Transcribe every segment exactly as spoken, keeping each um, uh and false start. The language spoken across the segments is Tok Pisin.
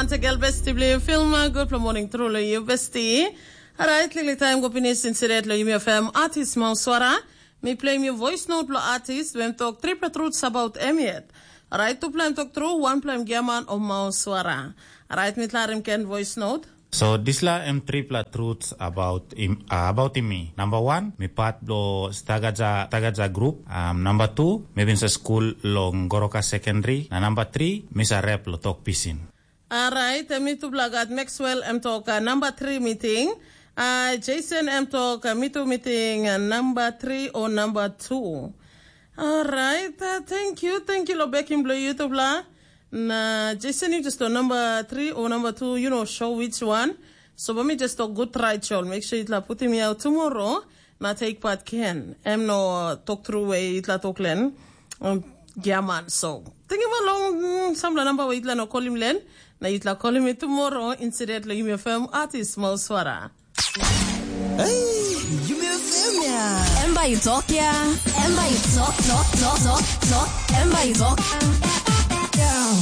Antegel besti bilong yu Filma, gutpela moning tru long yu besti. Orait, liklik taim go pinis inside long Yumi F M artist Mauswara. Mi pleim yu voice note bilong artist, em tok tripela truths about em yet. Orait, tupela em tok tru, wanpela em giaman o Mauswara. Orait, mi klarim ken voice note. So dispela em tripela truths about im, uh, about im mi. Number one, mi part bilong Tagaja Tagaja group. Um, number two, mi bin sa skul long Goroka Secondary. Na number three, mi sa rep lo tok pisin. Alright, mi tupela gat Maxwell em tok uh, number three meeting. Uh, Jason em tok uh, mi tu meeting uh, number three or number two. Alright, uh, thank you, thank you lo bekim bilong yu tupela. Na Jason, you just on number three or number two, you know, show which one. So let me just talk good try, Chol. Make sure itla put him out tomorrow. Na take part can. Em no uh, talk through way itla talk len. Um, yeah, man. So think about long mm, some number way itla no call him len. Na itla call him tomorrow. Incidentally, you may firm artist Mauswara. Hey, you may firm ya. Em bai tok ya. Em bai tok tok tok tok tok. Em bai tok.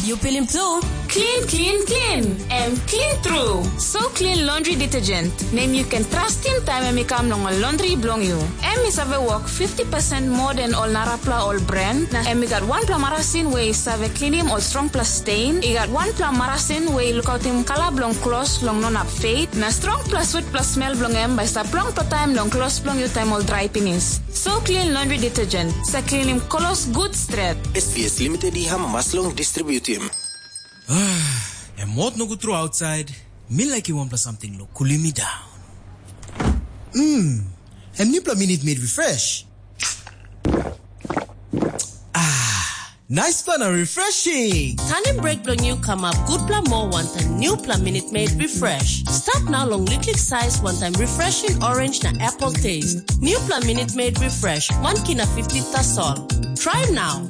You feel him too. Clean, clean, clean. Em clean true. So clean laundry detergent. Nem you can trust him time em i kam long ol laundry bilong you. Em i save work fifty percent more than ol narapla ol brand. Na em i gat wanpela marasin we i save cleanim ol strongpela stain. I gat wanpela marasin we i lukautim kala bilong klos long no nap fade. Na strongpela switpela smel bilong em bai stap longpela taim long klos bilong yu taim ol drai pinis. So clean laundry detergent. Sa cleanim klos good stret. S B S Limited i hamas long distributim. Em hot nogut tru outside. Mi like wanpela something lo cooling me down. Mm. Em newpela minute made refresh. Ah, nice plan and refreshing. Tanim break bilong yu kamap gutpela moa wantaim newpela minute made refresh. Start now long liklik size wantaim refreshing orange na apple taste. Newpela minute made refresh, one kina fifty tasol. Try now.